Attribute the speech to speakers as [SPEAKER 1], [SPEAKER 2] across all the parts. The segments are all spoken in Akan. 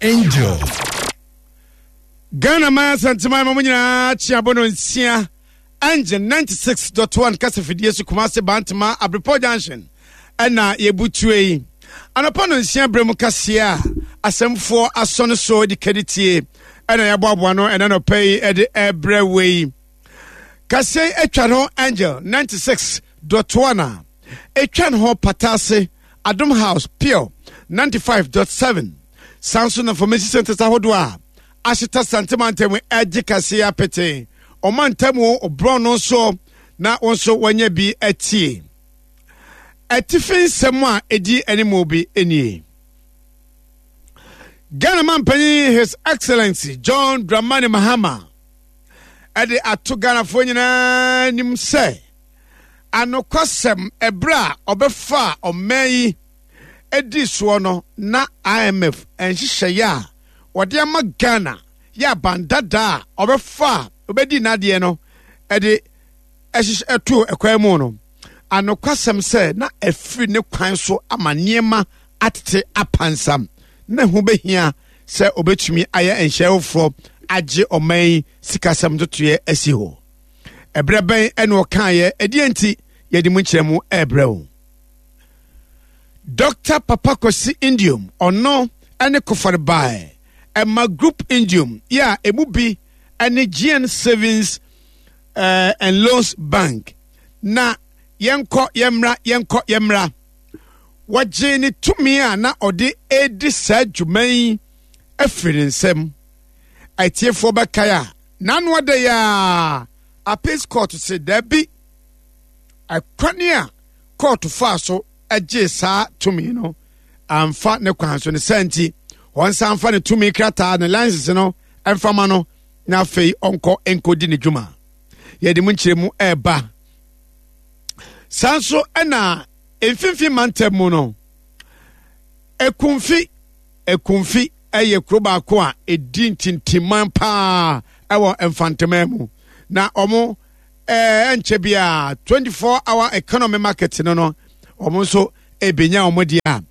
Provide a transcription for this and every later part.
[SPEAKER 1] Angel.
[SPEAKER 2] Ghana man Asanteman ma mo nyinaa kye abɔ no nsia Angel 96.1 kasafidie so Kumase Bantama Abrepɔ Junction ɛna yɛbutue yi anɔpa no nsia berɛ mu kaseɛ a asɛmfoɔ asɔ no so de kadi tie ɛna yɛaboaboa no ɛna nɔpa yi ɛde ɛbrɛ wei kaseɛ yi atwa no Angel 96.1 a ɛtwa ne ho Patase Adom House Pure 95.7 san so na information centers ahodoɔ a ahyeta Sante mantam agye kaseɛ apete ɔmantam ɔborɔn no nso na wɔn nso wɔanya bi atie. Atifi nsɛm a ɛdi anim bi nie. Ghana mampanyin His Excellency John Dramani Mahama ɛde ato Ghanafoɔ nyinaa anim sɛ anokwasɛm ɛberɛ a ɔbɛfaa ɔman yi ɛdi soɔ no na IMF nhyehyɛeɛ a wɔde ama Ghana yɛ aban dada a ɔbɛfa a ɔbɛdi n'adeɛ no ɛde ɛhyehyɛ ɛtoo ɛkwan mu no anokwasɛm sɛ na ɛfiri ne kwan so ama nneɛma atete apansam na ɛho bɛhia sɛ ɔbɛtumi ayɛ nhyɛ foforɔ agye ɔman yi sikasɛm ntotoeɛ asi hɔ. Ɛberɛ bɛn ɛna ɔkaeɛ ɛdeɛ nti yɛde mu nkyerɛmu ɛrebrɛ wo. Dr. Papa Kwasi Indium ɔno ɛne kofare bae ɛma Group Indium yɛ a emu bi ɛne GN Savings eh, and Loans Bank na yɛnkɔ yɛmmra yɛnkɔ yɛmmra wɔgyee ne tumi a na ɔde redi saa dwuma yi afiri ne nsam atiefoɔ bɛkae a n'ano ada yi a appeals court se daabi ɛkwane a court faa so gyee saa tumi no amfa ne kwan so ne saa nti wɔnsan mfa ne tumi krataa ne license no mfama no na afei ɔnkɔ nkɔdi ne dwuma yɛde mu nkyerɛmu ɛreba saa nso ɛna mfimfini mantam mu no ekumfi ekumfi ɛyɛ kuro baako a ɛdi ntintiman paa ɛwɔ mfanteman mu na wɔn ɛɛ nkyɛ biara 24 hour economy market no no wɔn nso ebenya wɔn deɛ a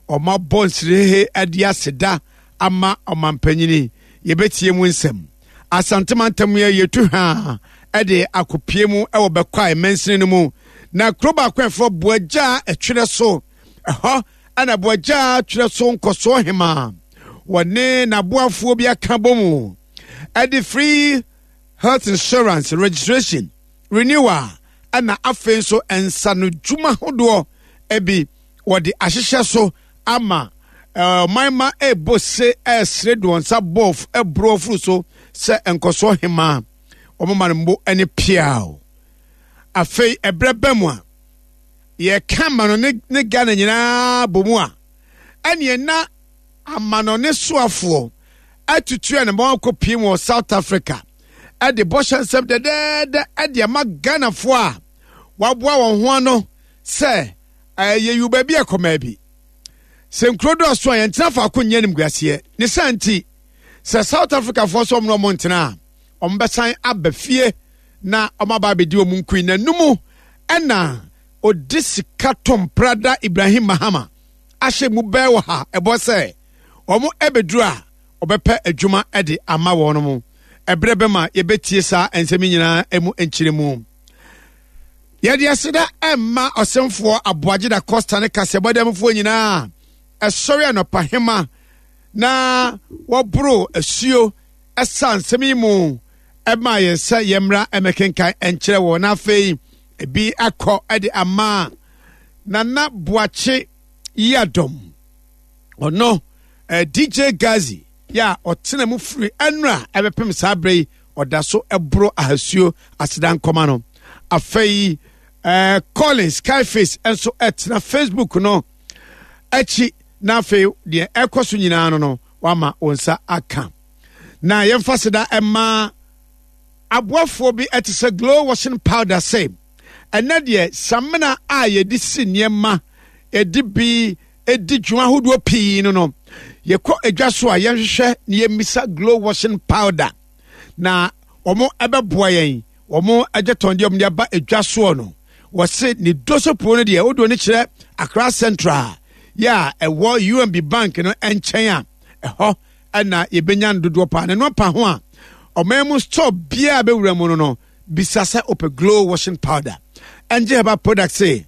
[SPEAKER 2] wɔn abɔ nsirehe ɛde aseda ama ɔmampanyini yɛbɛtie mu nsɛm Asante mantam yɛ yɛtu hwaa ɛde akɔpie mu ɛwɔ Bɛkwae mansini no mu na kuro baako ɛfrɛ Boagyaa ɛtwerɛ so ɛhɔ ɛna Boagyaa twerɛ so nkɔsoɔ hemaa wɔne n'aboafoɔ bi aka bɔ mu ɛde free health insurance registration renewal ɛna afei nso nsanodwuma hodoɔ ebi wɔde ahyehyɛ so ama ɔman ma ɛrebɔ se ɛresere de wɔn nsa bɔ ɛboro afuru so sɛ nkɔsoɔ hemaa wɔn ma no mbo ne piaw afei ɛbrɛ bɛ mu a yɛka amanɔne ne Ghana nyinaa bɔ mu a ɛneɛ na amanɔne soafoɔ atutu a ne ma wakɔ pii wɔ South Africa ɛde bɔhyɛ nsɛm dɛdɛɛdɛ ɛde ama Ghanafoɔ a waboa wɔn ho ano sɛ ɛyɛ yiw baabi ɛkɔ maabi sɛ nkuro dɔɔso a yɛntena faako nyɛ animguaseɛ ne saa nti sɛ South Africafoɔ sɛ ɔmo na ɔmo ntena a ɔmo bɛsan aba fie na ɔmo aba abɛdi ɔmo nkui na numu ɛna ɔdi sika tom prada Ibrahim Mahama ahyɛ mu bɛɛ wɔ ha ɛbɔ sɛ ɔmo ɛbɛduru a ɔbɛpɛ adwuma ɛde ama wɔn mo ɛberɛ bɛma yɛbɛtie saa nsɛm nyinaa ɛmu nkyerɛmu. Yɛde aseda ɛma ɔsɛmfoɔ Aboagye da Costa ne kaseɛbɔdɛmfoɔ nyinaa ɛsɔre anɔpa hema na wɔboro asuo ɛsa nsɛm yi mu ɛma yɛn sɛ yɛmmra ɛmɛkenkan ɛnkyerɛ wɔn na afei ebi akɔ ɛde ama Nana Boakye Yiadom ɔno eh, DJ Gazi yɛ a ɔtena mu firi ɛnora ɛbɛpem saa berɛ yi ɔda so ɛboro ahasuo aseda nkɔma no afei eh, Colin Skyface nso ɛtena Facebook no akyi na afei deɛ ɛkɔ so nyinaa no no wama wɔn nsa aka na yɛmfa seda ɛma aboafoɔ bi ɛte sɛ glow washing powder sɛ ɛnɛ deɛ samina a yɛde si nneɛma yɛde bi di dwuma ahodoɔ pii no no yɛkɔ adwa so a yɛnhwehwɛ na yɛmmisa glow washing powder na wɔn ɛbɛboa yɛn wɔn agyatɔn deɛ wɔn de aba adwa soɔ no wɔse ne dosopuo no deɛ wodoɔ no kyerɛ Accra Central yɛ a ɛwɔ UMB bank no nkyɛn a ɛhɔ. ɛna yɛbɛnya no dodoɔ paa. Na ɛno apa ho a, ɔman mu store biara bɛwura mu no no, bisa sɛ ɔpɛ Glow washing powder. Ɛngye herbal product se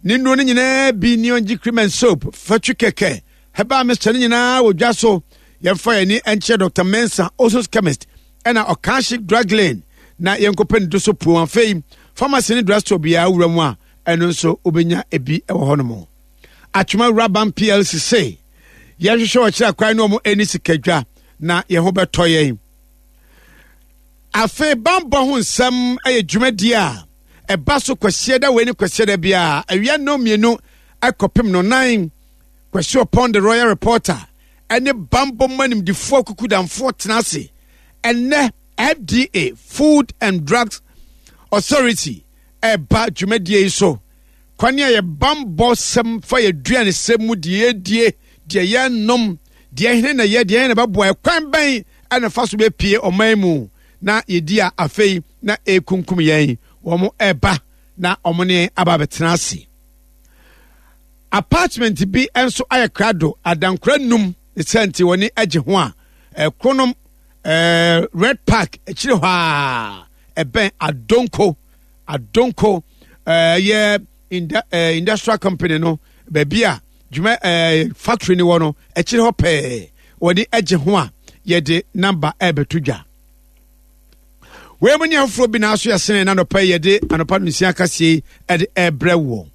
[SPEAKER 2] ne nnuro no nyinaa bi ne ɔngye cream and soap, fatwi kɛkɛ, herbal mixture no nyinaa wɔ dwa so. Yɛmfa yɛn ani nkyerɛ Dr. Mensah, Osos Chemist, ɛna Ɔkanhye Drug Lane na yɛnkɔpɛ ne do so puo. Afei, pharmacy ne drugstore biara wura mu a, ɛno nso wobɛnya ebi wɔ hɔnom. Atwoma Wuraban PLC se yɛhwehwɛ ɔkyerɛ kwan ne wɔn ani sikadwa na yɛn ho bɛtɔ yɛn. Afei bammɔ ho nsɛm yɛ dwumadie a ɛba so Kwasiada wei ne Kwasiada biara awia nnɔn mmienu kɔpem nnɔnan. Kwasi Ɔpɔn The Royal Reporter ne bammɔ mu animdifoɔ akukudamfoɔ tena ase ɛnnɛ. FDA, Food and Drugs Authority, ɛreba dwumadie yi so. Kwan a yɛ bammɔ sɛm fa yɛ aduanesɛm mu, deɛ yɛdie, deɛ yɛnom, deɛ hene na yɛ, deɛ hene na bɛboa, ɛkwan bɛn ɛna fa so bɛpie ɔman mu na yɛdi a afei na ɛrekunkum yɛn. Wɔn ɛreba na wɔn ne aba abɛtena ase. Apartment bi nso ayɛ krado adankora num ne sɛ nti wɔn ani agye ho a ɛkonom ɛɛ Red Park akyire hɔ a ɛbɛn Adonko Adonko ɛyɛ inda ɛɛ industrial company no baabi a dwuma ɛɛ factory no wɔ no akyire hɔ pɛɛ wɔde agye ho a yɛde namba ɛrebɛto dwa. Wei mu ne afoforɔ bi na aso yɛsene na anɔpa yi yɛde anɔpa no nsia kaseɛ yi ɛde ɛrebrɛ woɔ.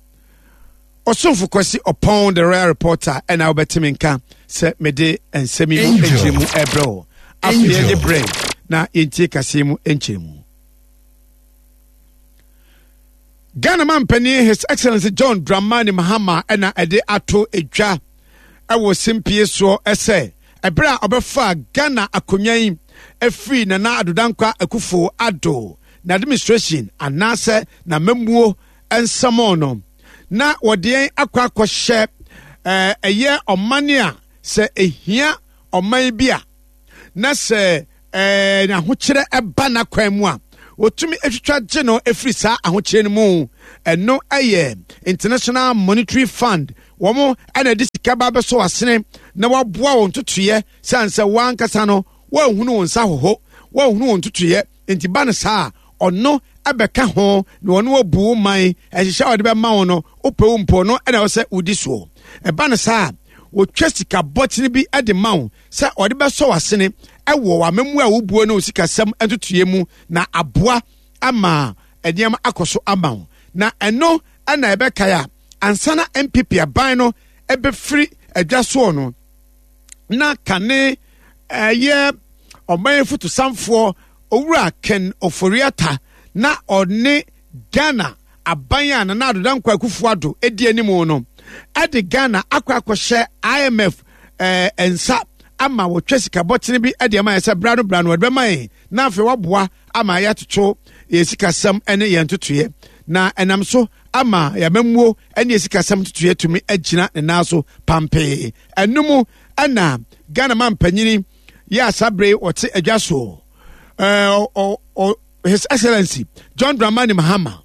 [SPEAKER 2] Ɔsomfo Kwasi Ɔpɔn The Royal Reporter ɛna wobɛte me nka sɛ mede nsɛm yi mu nkyerɛmu ɛrebrɛ wo. Afei yɛgye berɛ na yɛntie kaseɛ mu nkyerɛmu. Ghana mampanin His Excellency John Dramani Mahama ɛna ɛde ato edwa ɛwɔ simpie soɔ ɛsɛ ɛberɛ a ɔbɛfa Ghana akonnwa yi ɛfiri Nana Addo Dankwa Akufo Addo n'administration anaasɛ n'amammuo nsɛmɔ no na wɔde yɛn akɔ akɔhyɛ ɛyɛ ɔman a sɛ ehia ɔman bi a na sɛ ɛɛ n'ahokyerɛ ɛba n'akwan mu a wɔtumi atwitwa gye no ɛfiri saa ahokyerɛ no mu. Ɛno ɛyɛ International Monetary Fund. Wɔn ɛna ɛde sika ba bɛsɔ asene na waboa wɔn ntotoeɛ sane sɛ wɔn ankasa no wɔnhunu wɔn nsa hoho, wɔnhunu wɔn ntotoeɛ. Nti ba no saa a, ɔno ɛbɛka ho na ɔno abu wo man nhyehyɛ a ɔde bɛma wo no, wopɛ wo mpo ɔno ɛna ɛwɔ sɛ wodi soɔ. Ɛba no saa a, wɔtwa sika bɔtene bi de ma wo sɛ ɔde bɛsɔ w'asene ɛwɔ w'amamu a wobuo ne wo sikasɛm ntotoeɛ mu na aboa ama nneɛma akɔ so ama wo. Na ɛno ɛna ɛbɛkae a ansa na NPP aban no ɛbɛfiri adwa soɔ no, na kane ɛyɛ ɔman fotosanfoɔ Owura Ken Ofori-Atta na ɔne Ghana aban a Nana Addo Dankwa Akufo-Addo di anim no de Ghana akɔ akɔhyɛ IMF eh, nsa ama wɔtwa sika bɔtene bi de ama yɛn sɛ bra no bra no wɔde bɛma yɛn na afei waboa ama yɛatoto yɛn sikasɛm ne yɛn ntotoeɛ na ɛnam so ama yɛn amammuo ne yɛn sikasɛm ntotoeɛ tumi agyina ne nan so pampee. Ɛno mu ɛna Ghana mampanyini yɛ asabere wɔte adwa soɔ ɛɛ His Excellency John Dramani Mahama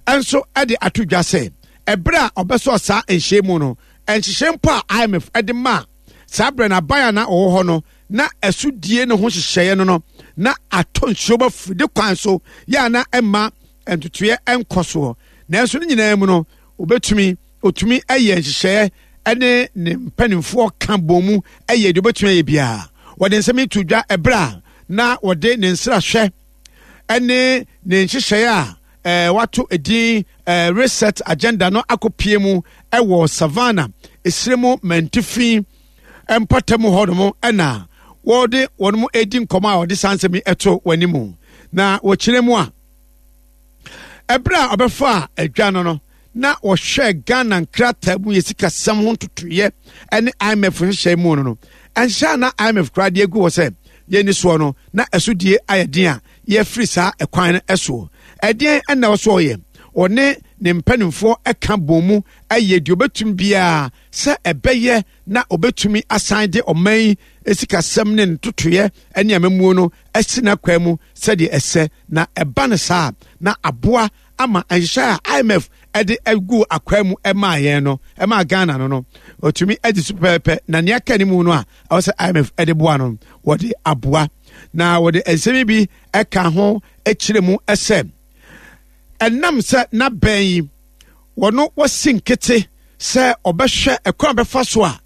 [SPEAKER 2] nso de ato dwa sɛ ɛberɛ a ɔbɛsɔɔ saa nhyɛn mu no, nhyehyɛ mpo a IMF de maa saa berɛ no aban a na ɔwɔ hɔ no na ɛso die no ho nhyehyɛeɛ no no na atɔ nsuo ba firi kwan so yɛ a na ɛma ntotoeɛ nkɔ soɔ. Nanso ne nyinaa mu no, obetumi otumi yɛ nhyehyɛeɛ ne ne mpanimfoɔ ka bɔn mu yɛ deɛ obetumi ayɛ biara. Wɔde nsɛm yi to dwa ɛberɛ a na wɔde ne nsrahwɛ ne ne nhyehyɛeɛ a eh, wato edin eh, reset agenda no akɔpie mu wɔ Savannah esire mu mantifi mpɔtam hɔnom ɛna wɔde wɔn mu edi nkɔmɔ a wɔde saa nsɛm yi ɛto wɔn anim na wɔkyerɛ mu a ɛberɛ a ɔbɛfaa adwa no no na wɔhwɛɛ Ghana nkrataa mu yɛ sikasɛm ho ntotoeɛ ne IMF nhyehyɛe mu no no, ɛnhyɛ a na IMF koraa de agu hɔ sɛ yɛnni soɔ no, na ɛso die ayɛ den a yɛafiri saa ɛkwan no soɔ. Ɛdeɛn na ɛwɔ so ɔyɛ? Ɔne ne mpanimfoɔ ka bɔn mu yɛ deɛ ɔbɛtumi biara sɛ ɛbɛyɛ na ɔbɛtumi asan de ɔman yi sikasɛm ne ntotoeɛ ne amammuo no asi n'akwan mu sɛdeɛ ɛsɛ, na ɛba no saa a, na aboa ama nhyehyɛe a IMF de gu akwaa mu maa yɛn no, ɛmaa Ghana no no, ɔtumi adi so pɛpɛpɛ, na nea aka ne mu no a ɛwɔ sɛ IMF de boa no, wɔde aboa. Na wɔde nsɛm bi ɛka ho kyerɛ mu sɛ ɛnam sɛ n'abɛn yi wɔno wɔsi nkete sɛ ɔbɛhwɛ ɛkwan a bɛfa so a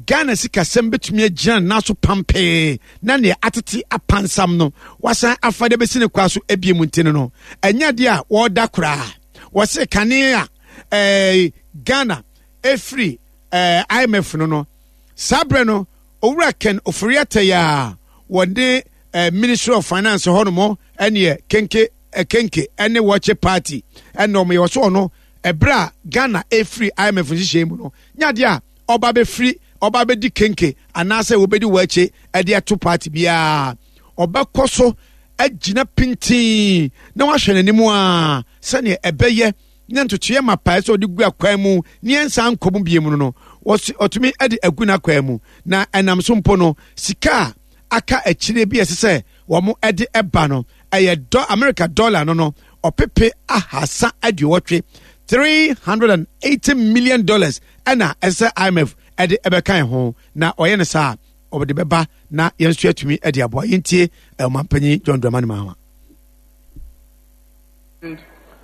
[SPEAKER 2] Ghana sikasɛm bɛtumi agyina ne nan so pampee na nea atete apansam no wasan afa de bɛsi ne kwa so ebie mu nti no no ɛnyɛ adeɛ a wɔda koraa. Wɔse kane a eh, Ghana ɛfiri eh, IMF no no saa berɛ no Owura Ken Ofori-Atta yi a wɔde eh, Ministry of Finance hɔ nom ɛneɛ kenke eh, kenke ɛne wɔkye party ɛna ɔmo yɛ wɔso ɔno ɛberɛ a Ghana ɛfiri IMF nhyehyɛe mu no nyɛ adeɛ a ɔba bɛfiri ɔba bɛdi kenke anaasɛ wɔbɛdi wɔakyi ɛde ato party biara. Ɔbɛkɔ so agyina pintinn na wahwɛ n'anim a sɛdeɛ ɛbɛyɛ na ntotoeɛ mapa sɛ ɔde gu akwan mu ne ɛnsan nkɔ mu bie mu no no ɔtumi de agu n'akwan mu. Na ɛnam so mpo no sika a aka akyire bi a ɛsɛ sɛ wɔn de ɛba no ɛyɛ dɔ America dollar no no ɔpepe 380, $380 million ɛna ɛsɛ IMF ɛde ɛbɛka ho, na ɔyɛ no saa ɔde bɛba na yɛn nso yɛatumi de aboa. Yɛntie ɔmanpanyin John Dramani Mahama.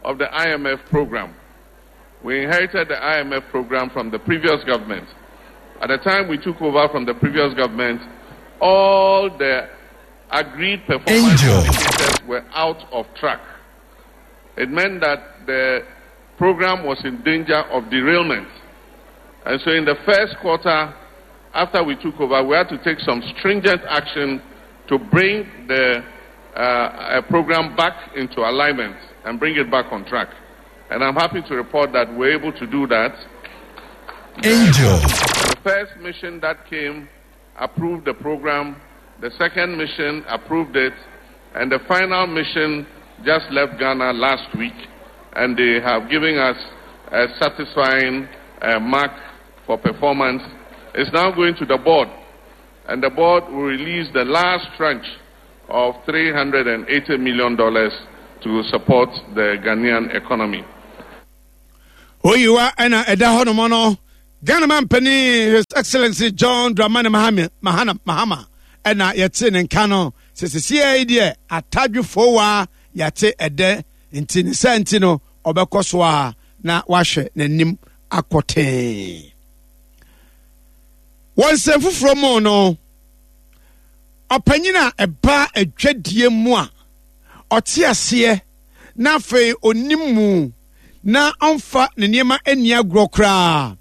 [SPEAKER 1] Of the IMF program. We inherited the IMF program from the previous government. At the time we took over from the previous government, all the agreed performance
[SPEAKER 3] Angel.
[SPEAKER 1] indicators were out of track. It meant that the program was in danger of derailment. And so in the first quarter, after we took over, we had to take some stringent action to bring the program back into alignment and bring it back on track. And I'm happy to report that we're able to do that.
[SPEAKER 3] Angel.
[SPEAKER 1] The first mission that came approved the program. The second mission approved it. And the final mission just left Ghana last week. And they have given us a satisfying mark for performance. It's now going to the board. And the board will release the last tranche of $380 million to support the Ghanaian economy.
[SPEAKER 2] Oyiwa ena eda hɔ nom no, Ghana man panin His Excellency John Dramani Mahama, Mahana, Mahama ɛna yɛte ne nka no sɛ sesie yi deɛ atadwefoɔ yɛate ɛdɛ nti ne sɛ nti no ɔbɛkɔ so a na wahwɛ n'anim akɔtee. Wɔ nsɛm foforɔ mu no, ɔpanyin a ɛba adwadie mu a ɔte aseɛ na afei onim mu na ɔmfa ne nneɛma ani agorɔ koraa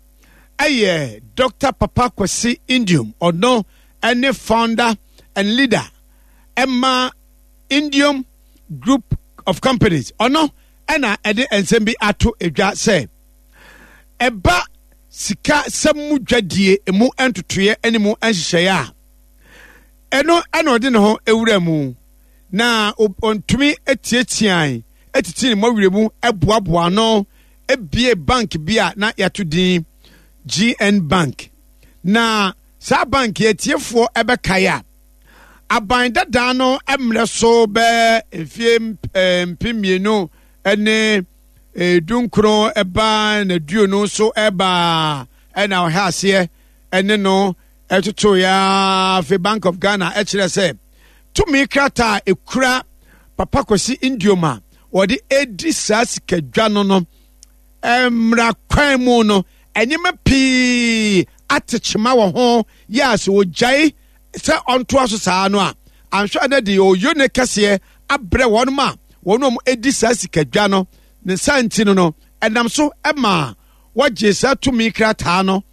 [SPEAKER 2] ɛyɛ Dr. Papa Kwesi Nduom. Ɔno ɛne founder and leader ɛma Nduom Group of Companies. Ɔno ɛna ɛde nsɛm bi ato edwa sɛ ɛba sika sɛm mu dwadie emu ntotoeɛ ne mu nhyehyɛeɛ a ɛno ɛna ɔde ne ho ewura mu na ɔntumi etiatian etiti ne mmɔwerɛ mu ɛboaboa ano ebie bank bi a na yɛato din GN Bank. Na saa bank yɛ tiefoɔ ɛbɛkae a aban dadaa no mmerɛ so bɛɛ mfie mpem mmienu ne dunkron ɛbaa na duonu so ɛbaa ɛna ɔhɛ aseɛ ɛne no ɛtoto ya. Afei Bank of Ghana ɛkyerɛ sɛ tumi krataa ekura Papa Kwesi Nduom a wɔde edi saa sikadwa no no mmara kwan mu no nneɛma pii atekyema wɔ ho yɛ a sɛ wɔgyae sɛ ɔntoa so saa no a anhwɛ na de ɔyɔ ne kɛseɛ abrɛ wɔn ma wɔn a wɔdi saa sikadwa no ne nsa nti no no ɛnam so ma wɔgye saa tumi krataa no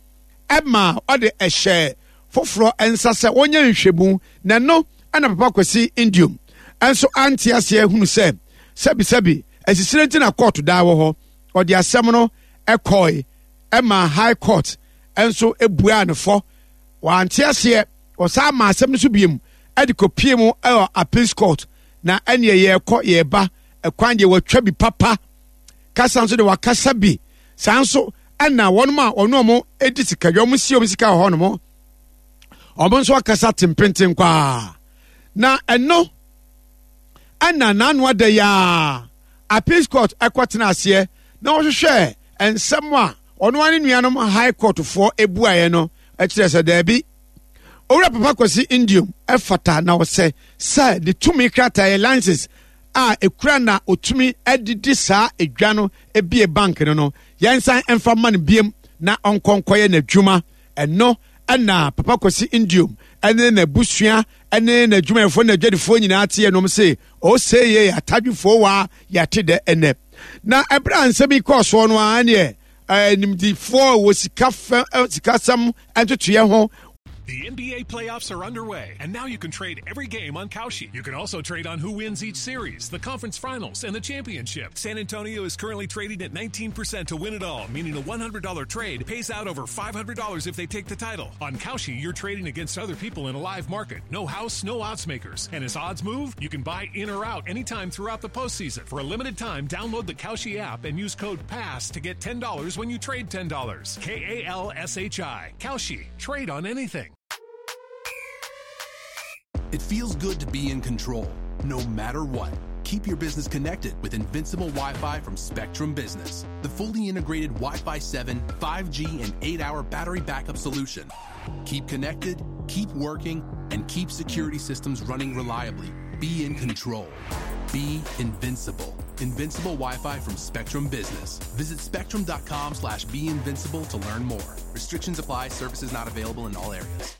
[SPEAKER 2] ɛma ɔde ɛhyɛ foforɔ nsa sɛ wɔnyɛ nhwɛmu. Na ɛno ɛna Papa Kwesi Nduom nso ante aseɛ hunu sɛ sɛbisɛbi asisire nti na kɔɔto daa wɔ hɔ. Ɔde asɛm no ɛkɔe ɛma High Court nso ebuaa ne fɔ. Wante aseɛ, ɔsan ma asɛm no so biem ɛde kɔpie mu ɛwɔ Appeals Court. Na ɛneɛ yɛrekɔ yɛreba ɛkwan deɛ wɔatwa bi papa kasa nso de wakasa bi saa nso ɛna wɔn a wɔn a wɔn edi sika dwa wɔn si wɔn sika wɔ hɔnom wɔn nso akasa tempenten kwaa. Na ɛno ɛna n'ano ada yi a Appeals Court ɛkɔtena aseɛ na wɔhwehwɛ nsɛm a ɔno ara ne nuanom High Court foɔ buaeɛ no kyerɛ sɛ daabi, Owura Papa Kwasi Ndiom fata na ɔsɛ sɛ ne tumi krataa yɛ license a ɛkura na ɔtumi de di saa edwa no bie bank no no, yɛnsan mfa mma no biem na ɔnkɔ nkɔyɛ n'adwuma. Ɛno na Papa Kwasi Ndiom ne n'abusua ne n'adwumayɛfoɔ ne n'adwadifoɔ nyinaa teɛ nom se ose ye atadwefoɔ waa yɛate dɛ ɛnɛ. Na ɛberɛ a nsɛm yi kɔɔ soɔ no ara neɛ nimdifoɔ wɔ sika fɛ sikasɛm ntotoeɛ ho.
[SPEAKER 4] The NBA playoffs are underway, and now you can trade every game on Kalshi. You can also trade on who wins each series, the conference finals, and the championship. San Antonio is currently trading at 19% to win it all, meaning a $100 trade pays out over $500 if they take the title. On Kalshi, you're trading against other people in a live market. No house, no odds makers. And as odds move, you can buy in or out anytime throughout the postseason. For a limited time, download the Kalshi app and use code PASS to get $10 when you trade $10. K A L S H I. Kalshi. Trade on anything.
[SPEAKER 5] It feels good to be in control, no matter what. Keep your business connected with Invincible Wi-Fi from Spectrum Business, the fully integrated Wi-Fi 7, 5G, and 8-hour battery backup solution. Keep connected, keep working, and keep security systems running reliably. Be in control. Be invincible. Invincible Wi-Fi from Spectrum Business. Visit spectrum.com/beinvincible to learn more. Restrictions apply. Services not available in all areas.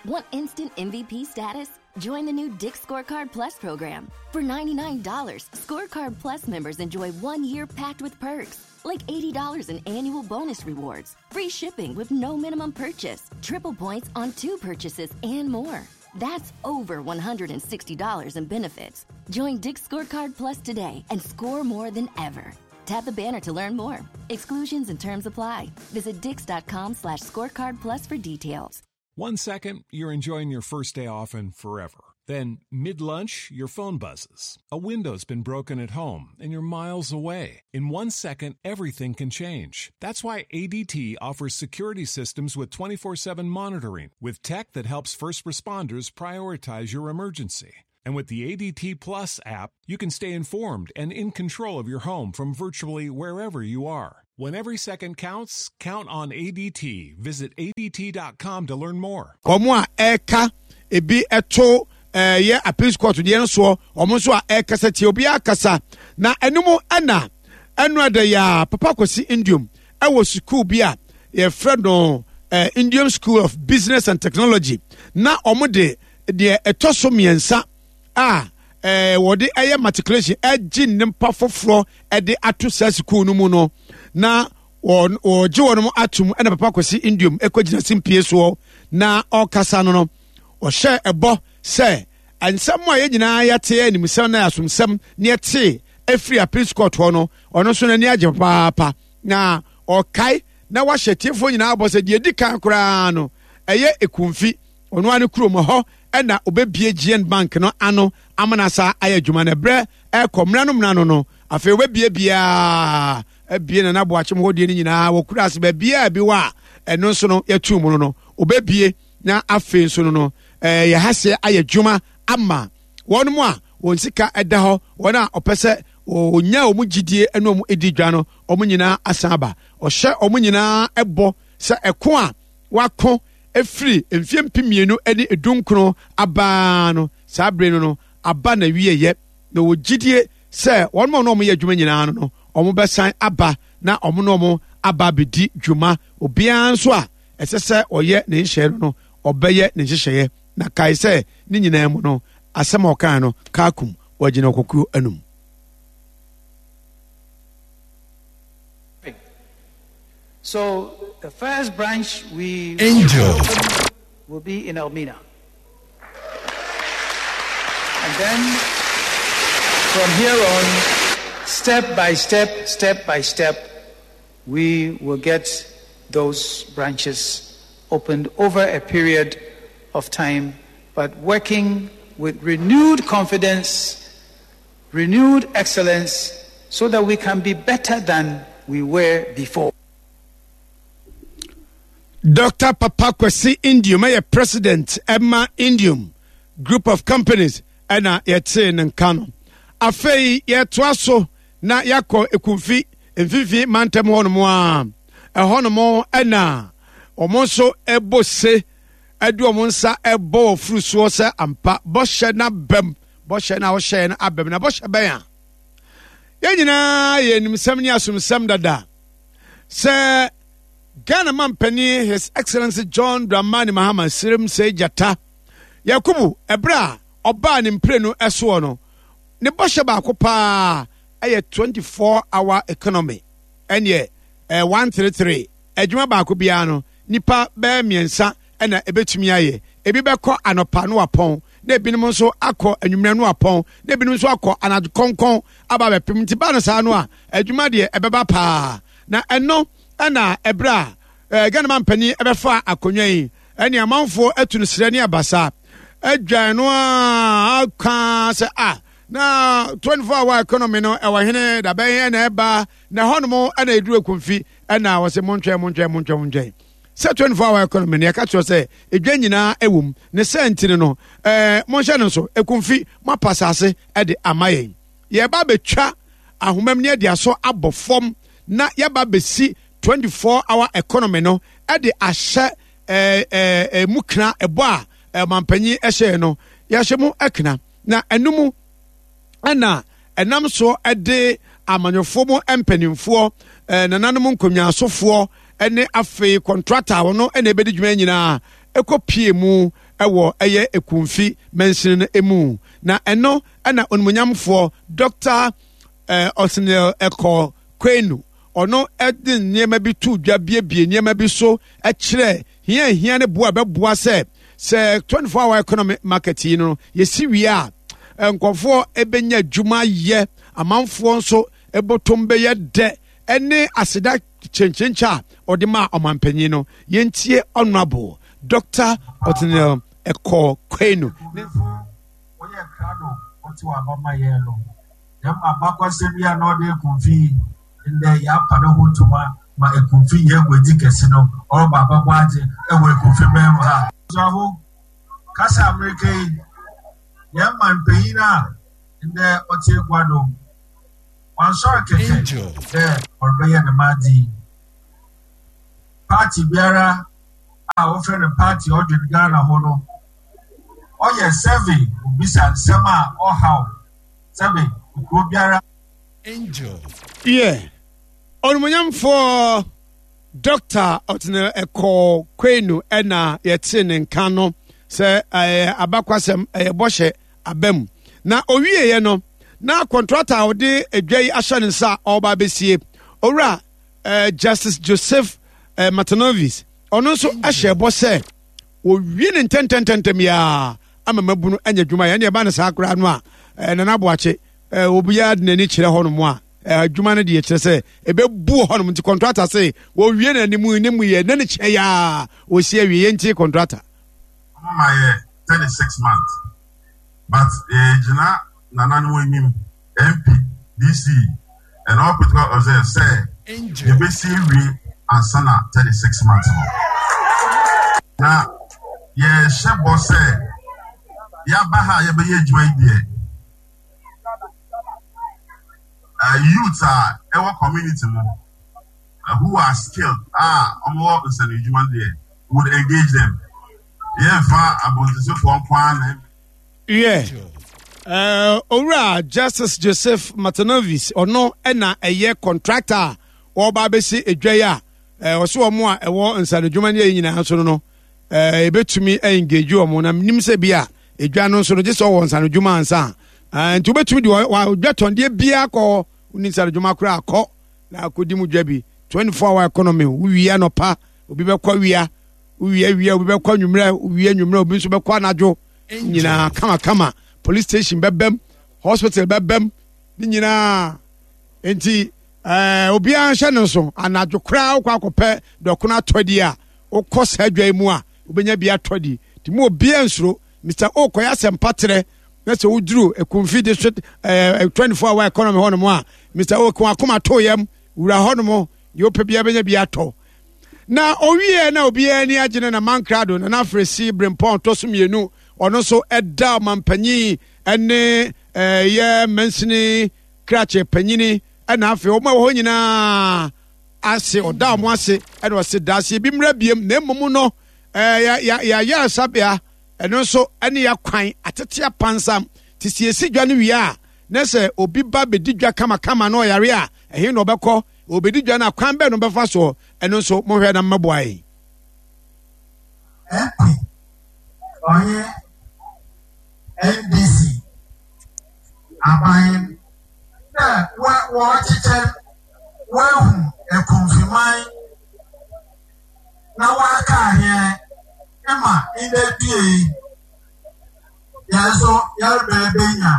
[SPEAKER 6] Want instant MVP status? Join the new Dick's Scorecard Plus program. For $99, Scorecard Plus members enjoy 1 year packed with perks, like $80 in annual bonus rewards, free shipping with no minimum purchase, triple points on 2 purchases, and more. That's over $160 in benefits. Join Dick's Scorecard Plus today and score more than ever. Tap the banner to learn more. Exclusions and terms apply. Visit dicks.com/scorecard plus for details.
[SPEAKER 4] 1 second, you're enjoying your first day off and forever. Then, mid-lunch, your phone buzzes. A window's been broken at home, and you're miles away. In 1 second, everything can change. That's why ADT offers security systems with 24/7 monitoring, with tech that helps first responders prioritize your emergency. And with the ADT Plus app, you can stay informed and in control of your home from virtually wherever you are. When every second counts, count on ADT. Visit ADT.com to learn more.
[SPEAKER 2] Wɔn a ɛreka ebi to ɛyɛ appeals court deɛ no soɔ, wɔn nso a ɛrekasa tie obiara kasa na ɛno mu ɛna ɛno ɛda yɛ a Papa Kwesi Ndiom ɛwɔ sukuu bi a yɛfrɛ no Ndiom School of Business and Technology na wɔn de deɛ ɛtɔ so mmiɛnsa a wɔde ɛyɛ matriculation ɛgye nnipa foforɔ ɛde ato saa sukuu no mu no na wɔgye wɔn atum ɛna Papa Kwesi Ndiom ɛkɔgyina simpie soɔ na ɔkasa no no ɔhyɛ ɛbɔ sɛ nsɛm a yɛn nyinaa yɛte animsɛm na asomsɛm ne yɛte afiri appeals court hɔ no ɔno nso n'ani agye papaapa na ɔkae na wahyɛ tiefoɔ nyinaa bɔ sɛ deɛ edi kan koraa no ɛyɛ ekumfi ɔno ara ne kurom hɔ ɛna ɔbɛbie GN Bank no ano amana saa ayɛ adwuma no ɛberɛ ɛkɔ mmra no mmra no no afei ɔbɛbie biara abie Nana Boakyem hɔ deɛ no nyinaa wɔ kura ase baabiara bi wɔ a ɛno nso no yɛtu mu no no ɔbɛbie na afei nso no no ɛɛ yɛhaseɛ ayɛ adwuma ama wɔn mu a wɔn sika ɛda hɔ wɔn a ɔpɛ sɛ wɔnya wɔn gyidie ɛne wɔn edi dwa no wɔn nyinaa asan aba ɔhyɛ wɔn nyinaa ɛbɔ sɛ ɛko a wako efiri mfie 2019 abaa no saa bere no no aba na wieyɛ na wɔ gyidie sɛ wɔn mu a wɔn yɛ adwuma nyinaa no no wɔn bɛsan aba na wɔn ne wɔn aba abɛdi dwuma obiara nso a ɛsɛ sɛ ɔyɛ ne nhyehyɛeɛ no no ɔbɛyɛ ne nhyehyɛeɛ na kae sɛ ne nyinaa mu no asɛm a ɔkae no kaakum wɔgyina ɔkokuo anum.
[SPEAKER 7] So the first branch we
[SPEAKER 3] Angel
[SPEAKER 7] will be in Elmina. And then from here on, step by step, step by step, we will get those branches opened over a period of time, but working with renewed confidence, renewed excellence, so that we can be better than we were before.
[SPEAKER 2] Dr. Papa Kwesi Ndiom ɛyɛ president ɛma Ndiom Group of Companies ɛna yɛtee ne nka no. Afei yɛtoa so na yɛakɔ Ekumfi Mfimfini mantam hɔnom a, ɛhɔnom ɛna wɔn nso ɛbɔ se ɛde wɔn nsa ɛbɔ wɔ furu soɔ sɛ ampa bɔhyɛ no abam, bɔhyɛ no a wɔhyɛɛ no abam. Na bɔhyɛ bɛn a? Yɛn nyinaa yɛ nimsɛm ne asomsɛm dada sɛ Ghana mampanin His Excellency John Dramani Mahama Sirim Sɛ Gyata Yakubu ɛberɛ a ɔbaa ne mprenu soɔ no, ne bɔhyɛ baako paa ɛyɛ 24 hour economy, ɛneɛ 133 adwuma baako biara no nipa bɛyɛ mmiɛnsa ɛna ɛbɛtumi ayɛ. Ebi bɛkɔ anɔpa no apɔn, na ebinom nso akɔ anwummerɛ no apɔn, na ebinom nso akɔ anadwo kɔnkɔn aba abɛpem. Nti ba no saa no a, adwuma deɛ ɛbɛba paa. Na ɛno ɛna ɛberɛ a Ghana mampanin ɛbɛfa akonnwa yi, ɛne amanfoɔ atu no serɛ ne abasa adwan no a aka sɛ a na 24 hour economy no ɛwɔ hene dabɛn ɛna ɛba, na ɛhɔnom ɛna ɛduru Ekumfi ɛna wɔsɛ montwɛn montwɛn montwɛn montwɛn sɛ 24 hour economy no yɛka kyerɛ sɛ edwa nyinaa ɛwɔ mu ne sɛ ntini no monhyɛ no nso Ekumfi moapa asase ɛde ama yɛn, yɛba bɛtwa ahomam ne ɛde asɔ abɔ fam na yɛba bɛsi 24 hour economy no ɛde ahyɛ mu kena ɛbɔ a ɔmampanyin ɛhyɛɛ no yɛahyɛ mu ɛkena. Na ɛno mu ɛna ɛnam so ɛde amanyɔfoɔ mu mpanimfoɔ, nananom nkonnwasofoɔ ɛne afei kɔntrata a wɔn ɛna ɛbɛdi dwuma nyinaa ɛkɔ pie mu ɛwɔ ɛyɛ Ekumfi mansini no emu. Na ɛno ɛna onimonyamfoɔ Dr. Othniel Ekow Quainoo ɔno ɛde nneɛma bi to dwa, biebie nneɛma bi so ɛkyerɛ hia hia ne boa bɛboa sɛ 24 hour economy market yi no yɛsi wie a nkɔfoɔ ɛbɛnya adwuma yɛ, amanfoɔ nso ɛbɔtɔm bɛyɛ dɛ, ɛne aseda kyenkyenkye a ɔde maa ɔmanpanyin no. Yɛntie Honorable Dr. Othniel Ekow Quainoo.
[SPEAKER 8] Wɔyɛ krado wɔte wɔ abama yɛn no dɛm abakwasɛm yi a na ɔde Ekumfi yi ndɛ yɛapa ne ho ntoma ma Ekumfi yɛ eguadzi kɛse no ɔreba abɛbɔ adze wɔ Ekumfi bɛn mu ha. Abusuafo, kasa a mereka yi, yɛn man panyin a ndɛ ɔtse egua do, ɔannsɔr kɛkɛ dɛ ɔrebɛyɛ dɛm adze yi. Party biara a wɔfrɛ no party a ɔdwen Ghana ho no, ɔyɛ survey, obisa nsɛm a ɔhaw sɛbe kurow biara.
[SPEAKER 3] Angel.
[SPEAKER 2] Yɛ Onimuonyamfoɔ Dɔkta Ɔtene Ekow Quainoo ɛna yɛtee ne nka no sɛ ɛyɛ abakwasɛm, ɛyɛ bɔhyɛ aba mu. Na owieɛ no, na kɔntrata a ɔde adwa yi ahyɛ ne nsa a ɔreba abɛsie, Owura Justice Joseph Matanovis, ɔno nso hyɛ bɔ sɛ wɔwie ne ntɛntɛntɛntɛm yi ara ama mabunu anya adwuma yɛ. Ɛne ɛba no saa koraa no a, Nana Boakye, obiara de n'ani kyerɛ hɔnom a, adwuma no deɛ kyerɛ sɛ ɛbɛbu hɔnom. Nti kɔntrata se wɔwie n'anim ne mu yɛ ne ne kyɛ yɛ a wɔsi awie. Yɛntie kɔntrata.
[SPEAKER 9] Ɔmo ma yɛ 36 months but yɛgyina nananom anim, MP, DC and all protocol observed sɛ yɛbɛsi awie ansa na 36 months no. Na yɛhyɛ bɔ sɛ yɛaba ha a yɛbɛyɛ adwuma yi deɛ, youth a ɛwɔ community mu who are skilled a wɔwɔ nsɛnadwuma no deɛ, would engage them. Yɛmfa abɔntensofoɔ nko ara na.
[SPEAKER 2] Wiɛ, Owura Justice Joseph Matanovis, ɔno na ɛyɛ contractor a wɔreba abɛsi edwa yi a ɔso wɔn a ɛwɔ nsanodwuma ne ɛyi nyinaa nso no, ɛbɛtumi engage wɔn. Na nim sɛ bi a edwa no nso no gye sɛ ɔwɔ nsanodwuma ansa a, nti wobɛtumi de wadwa tɔndeɛ biara kɔ hɔ, wonni nsanodwuma koraa kɔ na akɔdi mu dwa bi. 24 hour economy, wowie anɔpa obi bɛkɔ awia, wowie awia obi bɛkɔ anwummerɛ, wowie anwummerɛ obi nso bɛkɔ anadwo, nyinaa kamakama. Police station bɛbɛm, hospital bɛbɛm, ne nyinaa. Nti obiara nhyɛ no nso anadwo koraa wokɔ akɔpɛ dɔkono atɔ di a, wokɔ saa dwa yi mu a wobɛnya bi atɔ di. Nti mu obiara nsuro. Mr. O kɔyɛ asɛmpa terɛ na sɛ woduru Ekumfi district 24 hour economy hɔnom a, Mr. O ko akoma to yam wura hɔnom, deɛ wopɛ biara bɛnya bi atɔ. Na owie na obiara ani agye no na Mankrado na n'afresi Brempɔn tɔ so mmienu, ɔno nso ɛda ɔmampanyin ne ɛyɛ mansini krakye panyini. Ɛna afei wɔn a ɛwɔ hɔ nyinaa ase, ɔda wɔn ase, ɛna ɔse daseɛ bi mmra biem, na mmom no ɛɛ yɛ ayaresabea ɛno nso ɛne yɛakwan atete apansam te sɛ yɛsi dwa no wie a, na sɛ obi ba bɛdi dwa kamakama na ɔyare a, ɛhe na ɔbɛkɔ? Ɔbɛdi dwa no a, kwan bɛn na ɔbɛfa soɔ? Ɛno nso monhwɛ na mmɛboa yɛn.
[SPEAKER 8] MP ɔnye NDC aban dɛ wɔrekyekyɛ woehu ekumfiman na wɔakaa hɛn ma ndɛ dua yi hɛn so yɛreba ebenya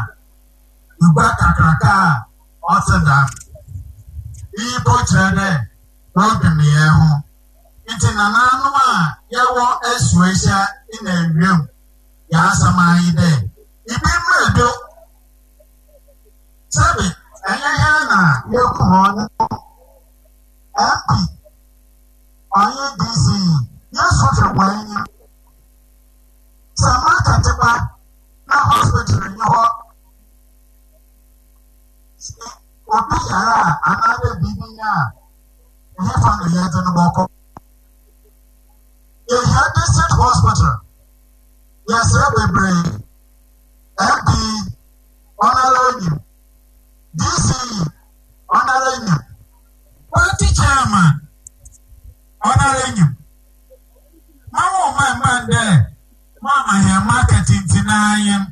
[SPEAKER 8] gua kakraka a ɔtse dɛm. Iyi mpo kyerɛ dɛ wɔdwen hɛnho. Ntsi nanaanom a yɛwɔ Asuahyia na Ewiam yɛn asɛm ara nye dɛ, ibi mbrɛ do. Sɛbe ɛnyɛ hɛn na yeku hɔn no, MP ɔnye DC yi, yesu hwɛ hɔn enyim. Sɛ market ba na hospital nnyi hɔ, sɛ obi yar a anaadɛ biribi nye a, ɛhefa na yɛdze no bɔkɔ? Yehia district hospital, yɛserɛ beberee, MP ɔnoara onyim, DC ɔnoara nyim, party chairman ɔnoara nyim. Ma wo mma mma ndɛ moama hɛn market ntsi na anyen.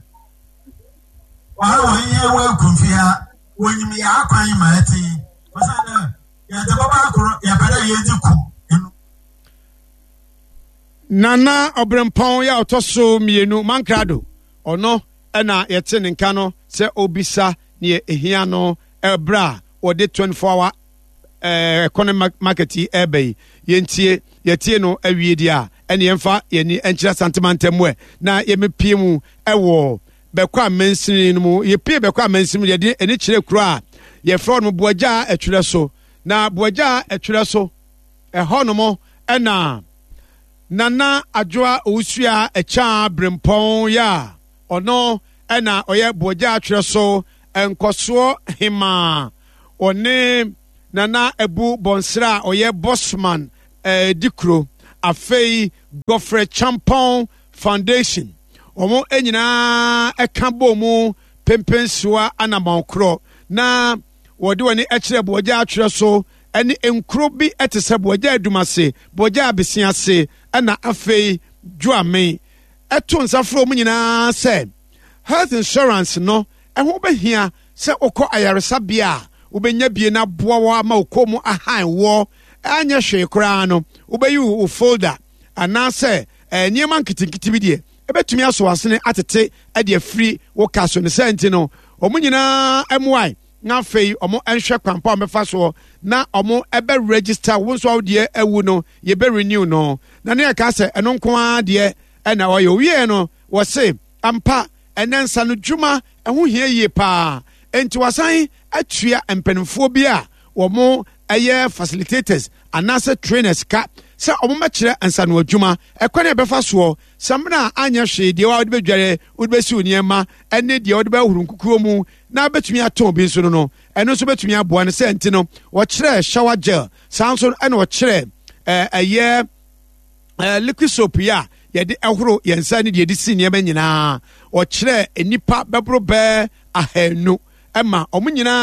[SPEAKER 8] Wɔara wɔnye hɛn wɔ ekumfi ha, wonyim yɛn akwan ma ɛtse yi, osiandɛ yɛdze bɔba kor yɛpɛ dɛ yedzi ko eno.
[SPEAKER 2] Nana Ɔberempɔn yɛ a ɔtɔ so mmienu, Mankrado, ɔno na yɛte ne nka no sɛ ɔrebisa neɛ ɛhia no ɛberɛ a wɔde 24 hour economy market yi ɛreba yi. Yɛntie, yɛtie no awie deɛ a, ɛne yɛmfa yɛni nkyerɛ Asante mantam mu ɛ na yɛmɛpie mu ɛwɔ Bɛkɔ a mansini no mu. Yɛpie Bɛkɔ a mansini mu, yɛde ani kyerɛ kuro a yɛfrɛ no Boagya Atwerɛ so. Na Boagya Atwerɛ so, ɛhɔ nom ɛna Nana Adwoa Owusua Akyaa Brempɔn yɛ a ɔno ɛna ɔyɛ Boagya Atwerɛ so nkɔsoɔ hemaa. Ɔne Nana Abu Bɔnsra a ɔyɛ Bosman eh, di kuro. Afei Godfrey Champɔn Foundation, wɔn nyinaa ɛka bɔ mu pempensoa anamɔn korɔ na wɔde wɔn ani kyerɛ Boagya Atwerɛ so ne nkuro bi te sɛ Boagya Adumase, Boagya Abesease ɛna afei Dwoame. Ɛto nsa frɛ wɔn nyinaa sɛ health insurance no ɛho bɛhia sɛ wokɔ ayaresabea a wobɛnya bie no aboa wɔ ama wo kɔn mu ahan woɔ anyɛ hwee koraa no wobɛyi wo folder anaasɛ eh, nneɛma nketenkete bi deɛ ɛbɛtumi asɔ asene atete de afiri wo ka so. Ne saa nti no wɔn nyinaa mmoae na afei wɔn nhwɛ kwan pa wɔn bɛfa soɔ na wɔn ɛbɛ register wo nso a wodeɛ awu no yɛbɛ renew no. Na ne yɛka sɛ ɛno nko ara deɛ ɛna ɔyɛ owie no wɔse ampa ɛnɛ nsa no dwuma ɛho hia yie paa enti wasan atua mpanimfoɔ bi a wɔn ɛyɛ facilitators anaasɛ trainers ka sɛ wɔn mɛkyerɛ nsano adwuma ɛkwan a ɛbɛfa soɔ samina a anyɛ hwee deɛ wɔde bɛdware wɔde bɛsiw nneɛma ɛne deɛ wɔde bɛhoro nkukuo mu na bɛtumi atɔn bi nso no no ɛno nso bɛtumi aboa no sɛ nti no wɔkyerɛ shower gel saa nso ɛna wɔkyerɛ ɛyɛ liquid soap yi a yɛde ɛhoro yɛn nsa ne deɛ yɛde si nneɛma nyinaa wɔkyerɛ nnipa bɛboro bɛɛ ahanu ɛma wɔn nyinaa.